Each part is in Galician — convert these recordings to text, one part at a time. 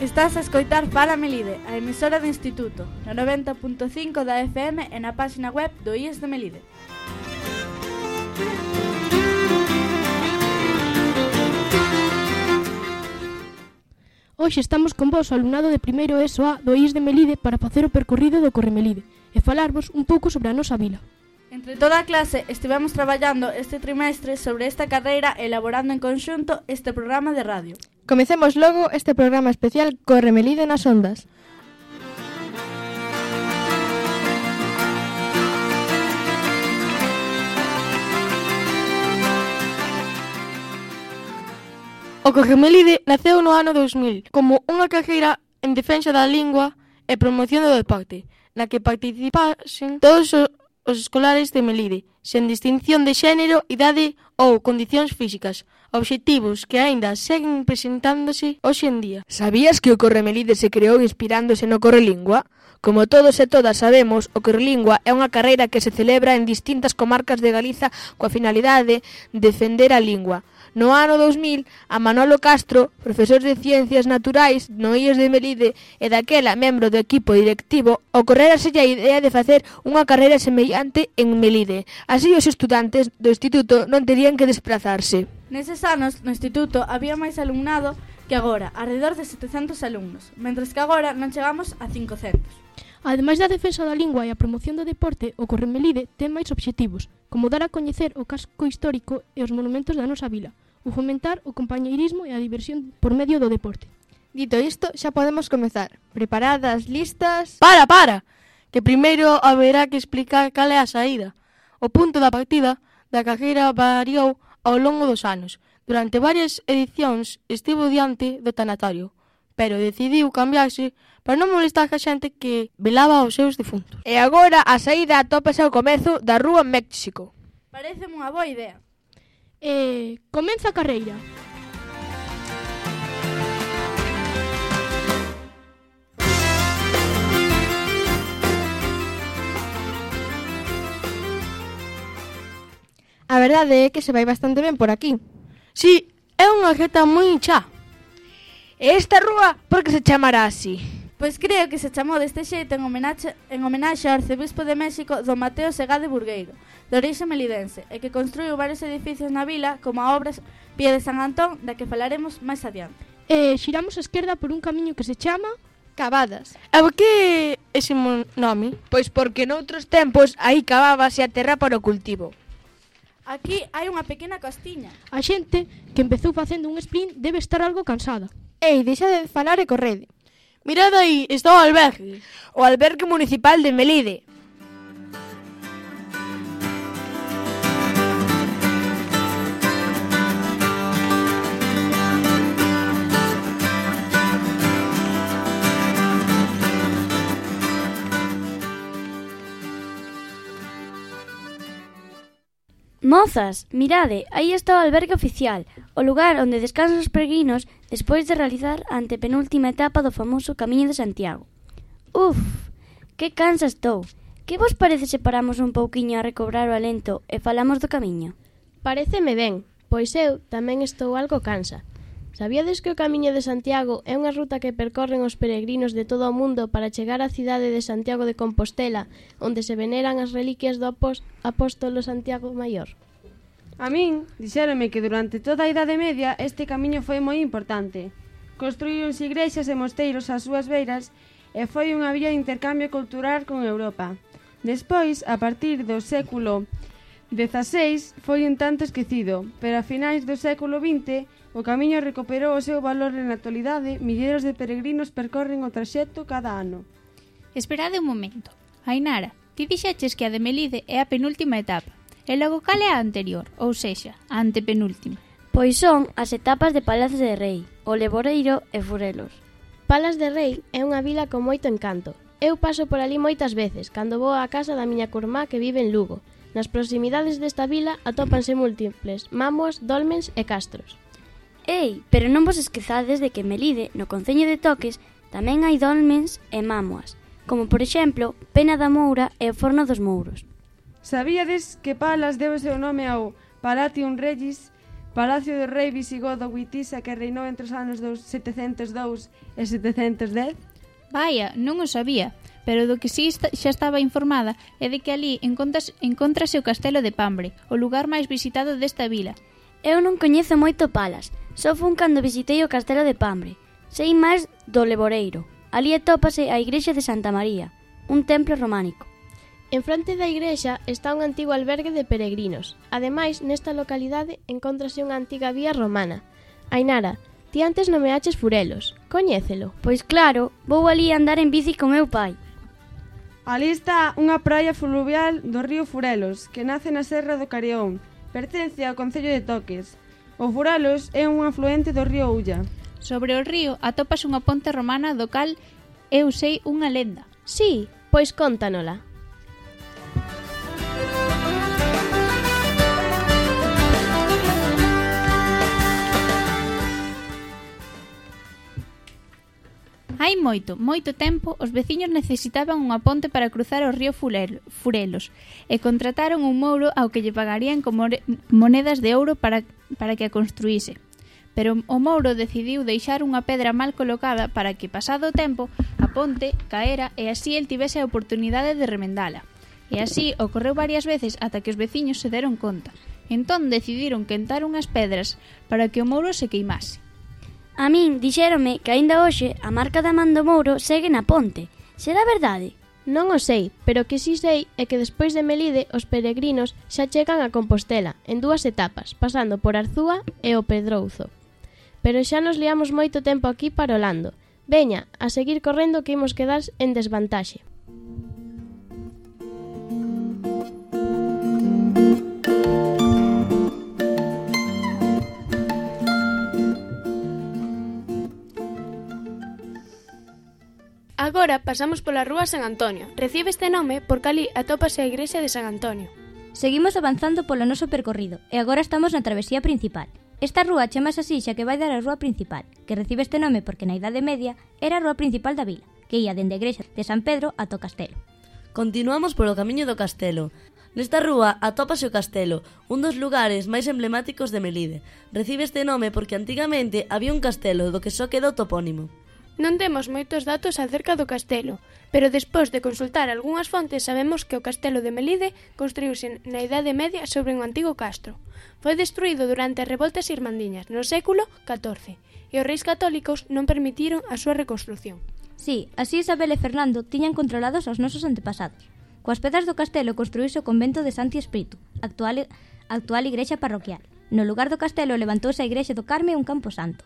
Estás a escoitar Fala Melide, a emisora do Instituto, no 90.5 da FM e na página web do IES de Melide. Hoxe estamos con vos, o alumnado de primeiro ESO A do IES de Melide, para facer o percorrido do Corremelide e falarvos un pouco sobre a nosa vila. Entre toda a clase estivemos traballando este trimestre sobre esta carreira e elaborando en conxunto este programa de radio. Comecemos logo este programa especial Corremelide nas ondas. O Corremelide naceu no ano 2000 como unha carreira en defensa da lingua e promoción do deporte, na que participasen todos os escolares de Melide, sen distinción de xénero, idade ou condicións físicas, obxectivos que aínda seguen presentándose hoxe en día. Sabías que o Corremelide se creou inspirándose no Correlingua? Como todos e todas sabemos, o Correlingua é unha carreira que se celebra en distintas comarcas de Galiza coa finalidade de defender a lingua. No ano 2000, a Manolo Castro, profesor de Ciencias Naturais no IES de Melide e daquela membro do equipo directivo, ocorrérase a idea de facer unha carreira semellante en Melide. Así os estudantes do instituto non terían que desplazarse. Neses anos, no instituto, había máis alumnado que agora, alrededor de 700 alumnos, mentres que agora non chegamos a 500. Ademais da defensa da lingua e a promoción do deporte, o Corremelide ten máis obxectivos, como dar a coñecer o casco histórico e os monumentos da nosa vila, ou fomentar o compañeirismo e a diversión por medio do deporte. Dito isto, xa podemos comezar. Preparadas, listas... Para! Que primeiro haberá que explicar cal é a saída. O punto da partida da carreira variou ao longo dos anos. Durante varias edicións estivo diante do tanatorio, pero decidiu cambiarse para non molestar a xente que velaba os seus difuntos. E agora a saída atópase ao comezo da Rúa México. Pareceme unha boa idea. Comeza a carreira. A verdade é que se vai bastante ben por aquí. Si, é unha reta moi chá. E esta rúa, por que se chamará así? Pois creo que se chamou deste xeito en homenaxe ao arcebispo de México don Mateo Segade Burgueiro, de orixe melidense, e que construiu varios edificios na vila, como a obra Pie de San Antón, da que falaremos máis adiante. Xiramos a esquerda por un camiño que se chama Cavadas. E por que ese nome? Pois porque noutros tempos aí cavábase a terra para o cultivo. Aquí hai unha pequena costiña. A xente que empezou facendo un sprint debe estar algo cansada. Ei, deixa de falar e correde. Mirad aí, está o albergue. O albergue municipal de Melide. Mozas, mirade, aí está o albergue oficial, o lugar onde descansan os peregrinos despois de realizar a antepenúltima etapa do famoso Camiño de Santiago. Uf, que cansa estou. Que vos parece se paramos un pouquiño a recobrar o alento e falamos do camiño? Paréceme ben, pois eu tamén estou algo cansa. Sabíades que o Camiño de Santiago é unha ruta que percorren os peregrinos de todo o mundo para chegar á cidade de Santiago de Compostela, onde se veneran as reliquias do apóstolo Santiago Maior? A min, dixéronme que durante toda a Idade Media este camiño foi moi importante. Construíronse igrexas e mosteiros ás súas beiras e foi unha vía de intercambio cultural con Europa. Despois, a partir do século XVI, foi un tanto esquecido, pero a finais do século XX o camiño recuperou o seu valor e na actualidade milleiros de peregrinos percorren o traxecto cada ano. Esperade un momento. Ainara, ti dixeches que a de Melide é a penúltima etapa. E logo cal é a anterior, ou sexa, a antepenúltima? Pois son as etapas de Palas de Rei, o Leboreiro e Furelos. Palas de Rei é unha vila con moito encanto. Eu paso por ali moitas veces, cando vou á casa da miña curmá que vive en Lugo. Nas proximidades desta vila atópanse múltiples mámoas, dolmens e castros. Ei, pero non vos esquezades de que Melide, no concello de Toques, tamén hai dolmens e mámoas, como por exemplo, Pena da Moura e o Forno dos Mouros. Sabíades que Palas deu o seu nome ao Palatium Regis, Palacio do rei visigodo Witisa que reinou entre os anos 702 e 710? Vaya, non o sabía, pero do que sí xa estaba informada é de que ali encóntrase o castelo de Pambre, o lugar máis visitado desta vila. Eu non coñezo moito Palas, só fun cando visitei o castelo de Pambre. Sei máis do Leboreiro. Ali atópase a igrexa de Santa María, un templo románico. En fronte da igrexa está un antigo albergue de peregrinos. Ademais, nesta localidade encóntrase unha antiga vía romana. Ainara, ti antes nomeaches Furelos. Coñécelo? Pois claro, vou ali andar en bici con meu pai. Ali está unha praia fluvial do río Furelos, que nace na Serra do Carrión. Pertence ao concello de Toques. O Furelos é un afluente do río Ulla. Sobre o río atopase unha ponte romana do cal eu sei unha lenda. Sí, pois cóntanola. Hai moito tempo, os veciños necesitaban unha ponte para cruzar o río Furelos e contrataron un mouro ao que lle pagarían con monedas de ouro para que a construíse. Pero o mouro decidiu deixar unha pedra mal colocada para que, pasado o tempo, a ponte caera e así el tivese a oportunidade de remendala. E así ocorreu varias veces ata que os veciños se deron conta. Entón decidiron quentar unhas pedras para que o mouro se queimase. A min dixéronme que aínda hoxe a marca da man do mouro segue na ponte. Será verdade? Non o sei, pero o que si sei é que despois de Melide os peregrinos xa chegan a Compostela en 2 etapas, pasando por Arzúa e o Pedrouzo. Pero xa nos liamos moito tempo aquí parolando. Veña, a seguir correndo que imos quedar en desvantaxe. Agora pasamos pola rúa San Antonio. Recibe este nome porque ali atópase a igrexa de San Antonio. Seguimos avanzando polo noso percorrido e agora estamos na travesía principal. Esta rúa chamase así xa que vai dar a rúa principal, que recibe este nome porque na Idade Media era a rúa principal da vila, que ía dende a igrexa de San Pedro ata o castelo. Continuamos polo camiño do castelo. Nesta rúa atópase o castelo, un dos lugares máis emblemáticos de Melide. Recibe este nome porque antigamente había un castelo do que só quedou topónimo. Non temos moitos datos acerca do castelo, pero despois de consultar algunhas fontes sabemos que o castelo de Melide construíuse na Idade Media sobre un antigo castro. Foi destruído durante as revoltas irmandiñas no século XIV e os reis católicos non permitiron a súa reconstrución. Sí, así Isabel e Fernando tiñan controlados aos nosos antepasados. Coas pedras do castelo construíse o convento de Santi Espíritu, actual igrexa parroquial. No lugar do castelo levantouse a igrexa do Carme e un campo santo.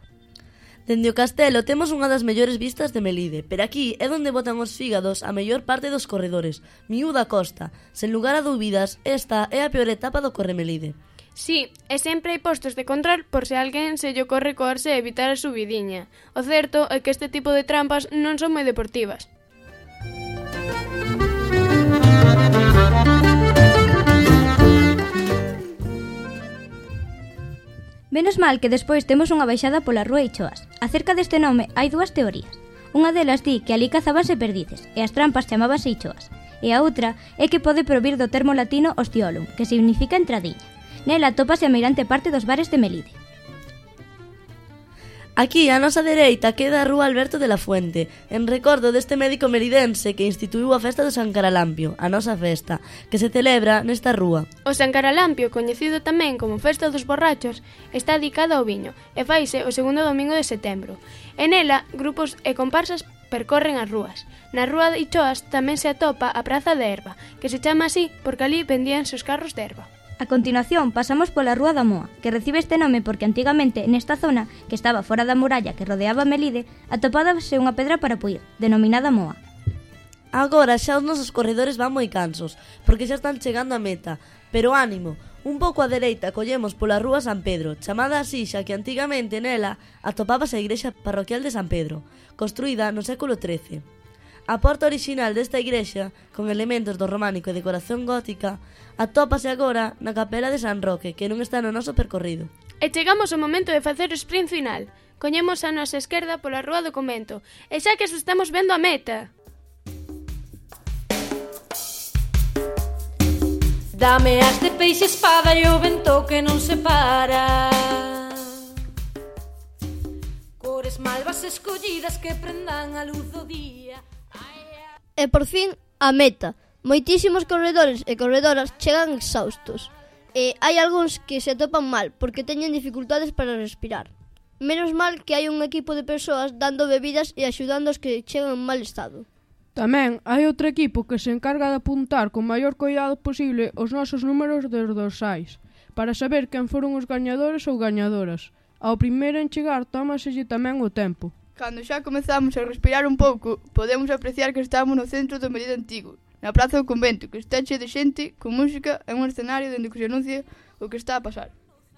Dende o castelo temos unha das mellores vistas de Melide, pero aquí é onde botan os fígados a mellor parte dos corredores. Miúda costa. Sen lugar a dúbidas, esta é a peor etapa do Corremelide. Sí, e sempre hai postos de control por se alguén se lle ocorre coarse e evitar a subidiña. O certo é que este tipo de trampas non son moi deportivas. Menos mal que despois temos unha baixada pola rúa Ichoas. Acerca deste nome hai 2 teorías. Unha delas di que ali cazábanse perdices e as trampas chamábanse Ichoas. E a outra é que pode provir do termo latino ostiolum, que significa entradiña. Nela atópase a meirante parte dos bares de Melide. Aquí, á nosa dereita, queda a rúa Alberto de la Fuente, en recordo deste médico meridense que instituíu a festa do San Caralampio, a nosa festa, que se celebra nesta rúa. O San Caralampio, coñecido tamén como Festa dos Borrachos, está dedicado ao viño e faise o segundo domingo de setembro. En ela, grupos e comparsas percorren as rúas. Na rúa de Ichoas tamén se atopa a Praza de Erva, que se chama así porque ali vendíanse os carros de erva. A continuación pasamos pola Rúa da Moa, que recibe este nome porque antigamente nesta zona, que estaba fora da muralla que rodeaba Melide, atopábase unha pedra para puir, denominada Moa. Agora xa os nosos corredores van moi cansos, porque xa están chegando á meta, pero ánimo, un pouco á dereita collemos pola Rúa San Pedro, chamada así xa que antigamente nela atopábase a igrexa parroquial de San Pedro, construída no século XIII. A porta orixinal desta igrexa, con elementos do románico e decoración gótica, atópase agora na capela de San Roque, que non está no noso percorrido. E chegamos ao momento de facer o sprint final. Coñemos a nosa esquerda pola rúa do convento, e xa que estamos vendo a meta. Dame a este peixe espada e o vento que non se para. As malvas escollidas que prendan a luz do día. E por fin, a meta. Moitísimos corredores e corredoras chegan exhaustos. E hai algúns que se atopan mal porque teñen dificultades para respirar. Menos mal que hai un equipo de persoas dando bebidas e axudando os que chegan en mal estado. Tamén hai outro equipo que se encarga de apuntar con maior cuidado posible os nosos números dos dorsais, para saber quen foron os gañadores ou gañadoras. Ao primeiro en chegar tómaselle tamén o tempo. Cando xa comezamos a respirar un pouco, podemos apreciar que estamos no centro do Melide Antigo, na Praza do Convento, que está chea de xente, con música e un escenario dende que se anuncia o que está a pasar.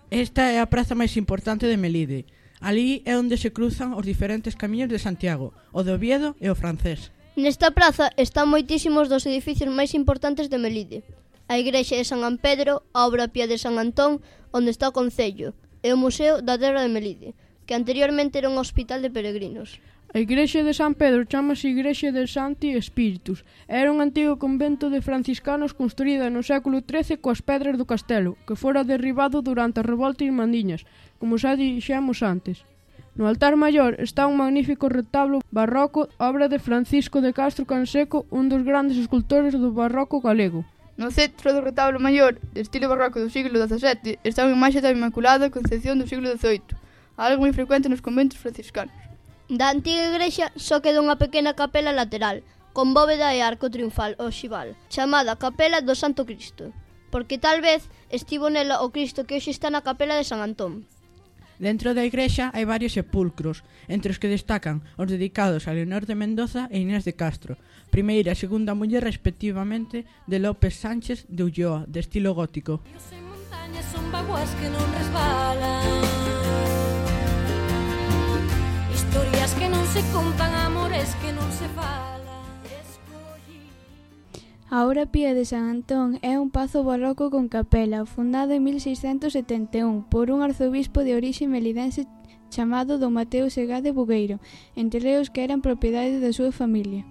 Esta é a praza máis importante de Melide. Alí é onde se cruzan os diferentes camiños de Santiago, o de Oviedo e o francés. Nesta praza están moitísimos dos edificios máis importantes de Melide. A igrexa de San Ampedro, a obra pía de San Antón, onde está o Concello, e o Museo da Terra de Melide, que anteriormente era un hospital de peregrinos. A igrexa de San Pedro chamase Igrexa de Santi Espíritus. Era un antigo convento de franciscanos construída no século XIII coas pedras do castelo, que fora derribado durante a revolta irmandiñas, como xa dixemos antes. No altar maior está un magnífico retablo barroco, obra de Francisco de Castro Canseco, un dos grandes escultores do barroco galego. No centro do retablo maior, de estilo barroco do siglo XVII, está unha imaxe da Inmaculada Concepción do siglo XVIII, algo moi frecuente nos conventos franciscanos. Da antiga igrexa só queda unha pequena capela lateral, con bóveda e arco triunfal oxival, chamada Capela do Santo Cristo, porque tal vez estivo nela o Cristo que hoxe está na capela de San Antón. Dentro da igrexa hai varios sepulcros, entre os que destacan os dedicados a Leonor de Mendoza e Inés de Castro, primeira e segunda muller respectivamente de López Sánchez de Ulloa, de estilo gótico. Ríos e montañas son vaguas que non resbalan, historias que non se contan, amores que non se falan. A obra pía de San Antón é un pazo barroco con capela, fundado en 1671 por un arzobispo de orixe melidense chamado Don Mateo Segade Bugueiro, entre os que eran propiedade da súa familia.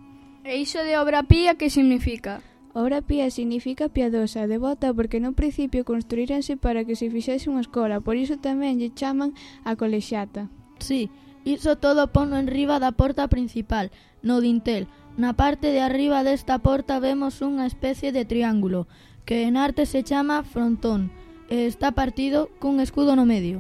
E iso de obra pía que significa? Obra pía significa piadosa, devota, porque no principio construíranse para que se fixese unha escola, por iso tamén lle chaman a colexiata. Sí, iso todo pono en riba da porta principal, no dintel. Na parte de arriba desta porta vemos unha especie de triángulo, que en arte se chama frontón, e está partido cun escudo no medio.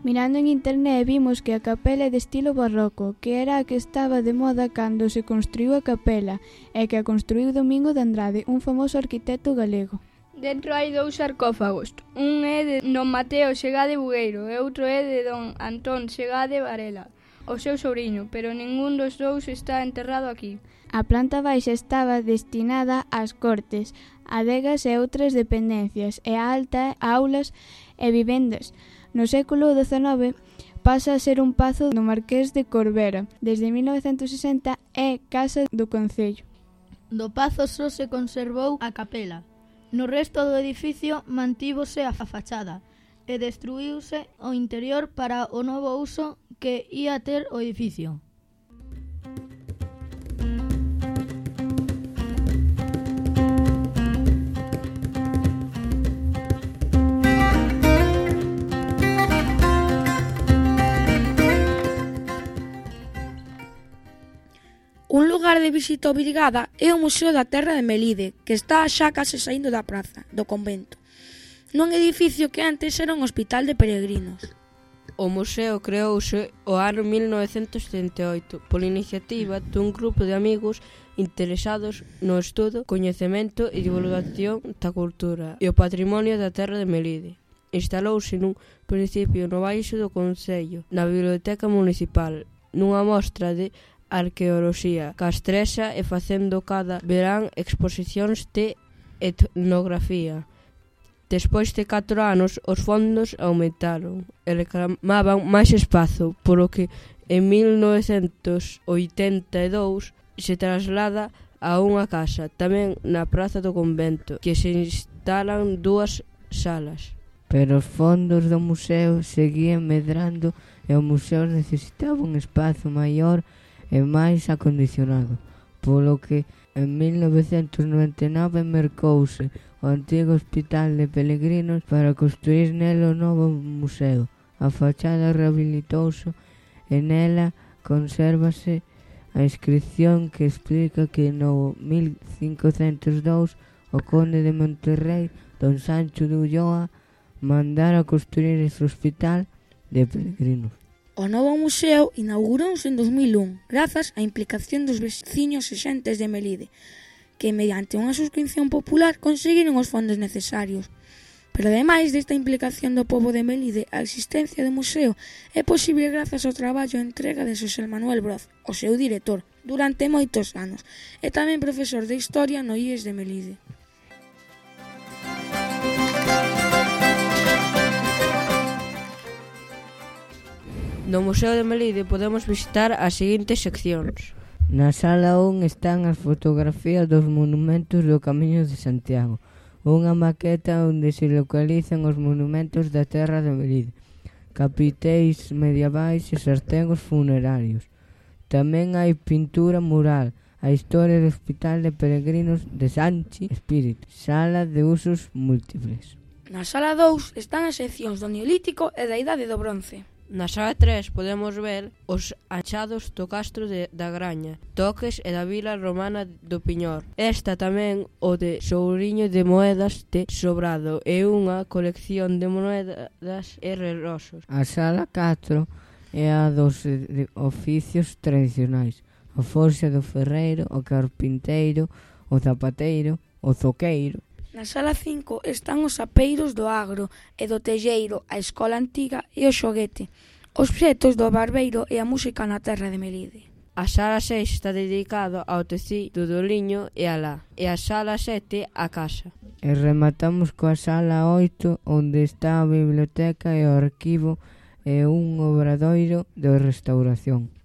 Mirando en internet vimos que a capela é de estilo barroco, que era a que estaba de moda cando se construiu a capela, e que a construiu Domingo de Andrade, un famoso arquitecto galego. Dentro hai 2 sarcófagos, un é de Don Mateo Segade Bugueiro e outro é de Don Antón Segade Varela, o seu sobrinho, pero ningún dos dous está enterrado aquí. A planta baixa estaba destinada ás cortes, adegas e outras dependencias, e a alta a aulas e vivendas. No século XIX pasa a ser un pazo do Marqués de Corbera. Desde 1960 é casa do Concello. Do pazo só se conservou a capela. No resto do edificio mantívose a fachada e destruíuse o interior para o novo uso que ia ter o edificio. Un lugar de visita obrigada é o Museo da Terra de Melide, que está xa case saindo da praza, do convento, nun edificio que antes era un hospital de peregrinos. O museo creouse o ano 1978 pola iniciativa dun grupo de amigos interesados no estudo, coñecemento e divulgación da cultura e o patrimonio da Terra de Melide. Instalouse nun principio no baixo do Concello, na Biblioteca Municipal, nunha mostra de arqueoloxía castrexa e facendo cada verán exposicións de etnografía. Despois de 4 anos, os fondos aumentaron e reclamaban máis espazo, polo que en 1982 se traslada a unha casa, tamén na Praza do Convento, que se instalan 2 salas. Pero os fondos do museo seguían medrando e o museo necesitaba un espazo maior e máis acondicionado, polo que en 1999 mercouse o antigo hospital de peregrinos para construir nelo o novo museo. A fachada rehabilitouse e nela consérvase a inscripción que explica que no 1502 o conde de Monterrey, don Sancho de Ulloa, mandara construir este hospital de peregrinos. O novo museo inaugurouse en 2001 grazas á implicación dos veciños e xentes de Melide, que mediante unha suscripción popular conseguiron os fondos necesarios. Pero ademais desta implicación do pobo de Melide, a existencia do museo é posible grazas ao traballo e entrega de Xosé Manuel Broz, o seu director, durante moitos anos, e tamén profesor de Historia no IES de Melide. No Museo de Melide podemos visitar as seguintes seccións. Na sala 1 están as fotografías dos monumentos do Camiño de Santiago, unha maqueta onde se localizan os monumentos da terra de Melide, capiteis medievais e sartengos funerarios. Tamén hai pintura mural, a historia do Hospital de Peregrinos de Sanchi Espíritu, sala de usos múltiples. Na sala 2 están as seccións do Neolítico e da Idade do Bronce. Na sala 3 podemos ver os achados do castro da Graña, Toques e da vila romana do Piñor. Esta tamén o de Souriño de Moedas de Sobrado e unha colección de moedas e reloxos. A sala 4 é a dos oficios tradicionais, a forxa do ferreiro, o carpinteiro, o zapateiro, o zoqueiro. Na sala 5 están os apeiros do agro e do telleiro, a escola antiga e o xoguete, os obxetos do barbeiro e a música na terra de Melide. A sala 6 está dedicada ao tecido do liño e a lá, e a sala 7 á casa. E rematamos coa sala 8, onde está a biblioteca e o arquivo e un obradoiro de restauración.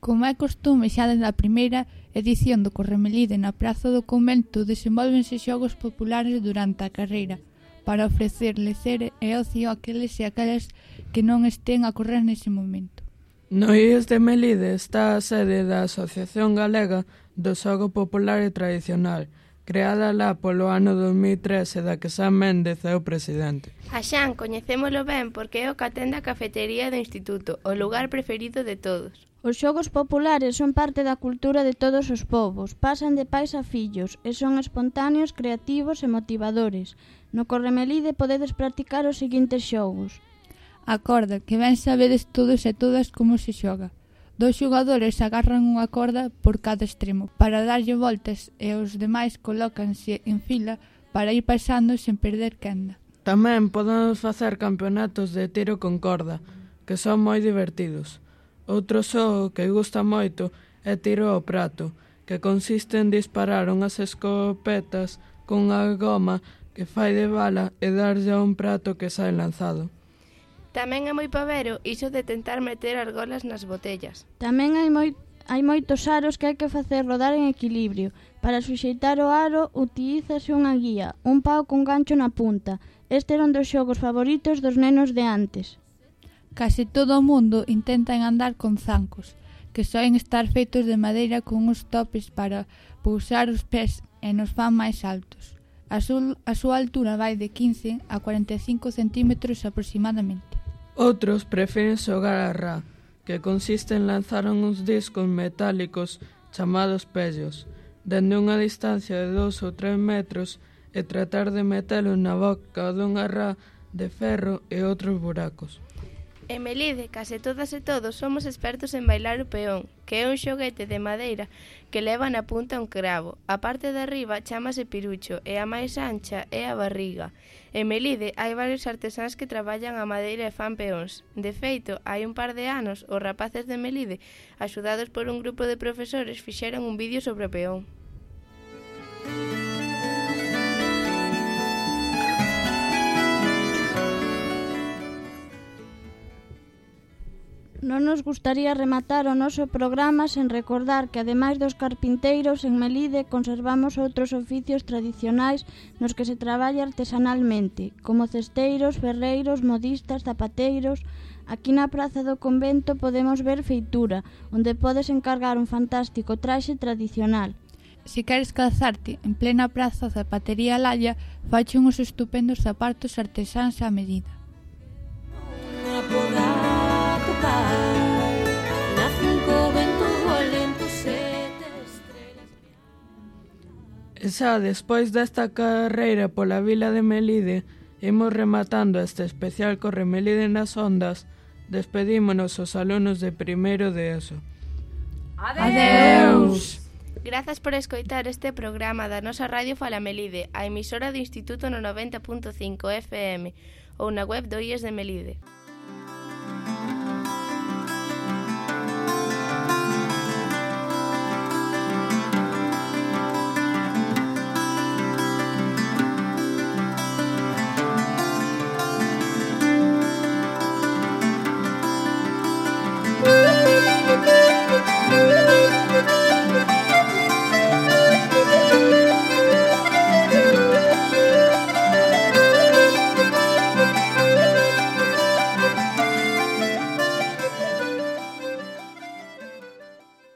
Como é costume xa desde a primeira edición do Corremelide na Praza do Convento, desenvólvense xogos populares durante a carreira para ofrecer lecer e ocio àqueles e aquelas que non estén a correr nese momento. No IES de Melide está a sede da Asociación Galega do Xogo Popular e Tradicional, creada lá polo ano 2013 da que San Méndez é o presidente. A Xan coñecémolo ben porque é o que atende a cafetería do instituto, o lugar preferido de todos. Os xogos populares son parte da cultura de todos os povos, pasan de pais a fillos e son espontáneos, creativos e motivadores. No Corremelide podedes practicar os seguintes xogos. A corda, que ben sabedes todos e todas como se xoga. 2 xogadores agarran unha corda por cada extremo para darlle voltas e os demais colócanse en fila para ir pasando sen perder quenda. Tamén podemos facer campeonatos de tiro con corda, que son moi divertidos. Outro xogo que gusta moito é tiro ao prato, que consiste en disparar unhas escopetas con unha goma que fai de bala e darlle a un prato que sae lanzado. Tamén é moi pavero iso de tentar meter argolas nas botellas. Tamén hai moitos aros que hai que facer rodar en equilibrio. Para suxeitar o aro utilízase unha guía, un pau con gancho na punta. Este era un dos xogos favoritos dos nenos de antes. Case todo o mundo intenta andar con zancos, que soen estar feitos de madeira con uns topes para pousar os pés e nos fan máis altos. A súa altura vai de 15 a 45 centímetros aproximadamente. Outros prefiren xogar a rá, que consiste en lanzar uns discos metálicos chamados pellos, dende unha distancia de 2 ou 3 metros e tratar de metelo na boca dunha rá de ferro e outros buracos. En Melide, case todas e todos somos expertos en bailar o peón, que é un xoguete de madeira que leva na punta un cravo. A parte de arriba chámase pirucho e a máis ancha é a barriga. En Melide hai varios artesáns que traballan a madeira e fan peóns. De feito, hai un par de anos, os rapaces de Melide, axudados por un grupo de profesores, fixeron un vídeo sobre o peón. Non nos gustaría rematar o noso programa sen recordar que, ademais dos carpinteiros, en Melide conservamos outros oficios tradicionais nos que se traballa artesanalmente, como cesteiros, ferreiros, modistas, zapateiros. Aquí na Praza do Convento podemos ver feitura, onde podes encargar un fantástico traxe tradicional. se queres calzarte en plena praza Zapatería Lalla, fache uns estupendos zapatos artesáns á medida. E xa despois desta carreira pola vila de Melide, imos rematando este especial Corre Melide nas ondas. Despedímonos os alumnos de primeiro de ESO. Adeus! Grazas por escoitar este programa da nosa Radio Fala Melide, a emisora do Instituto no 90.5 FM ou na web do IES de Melide.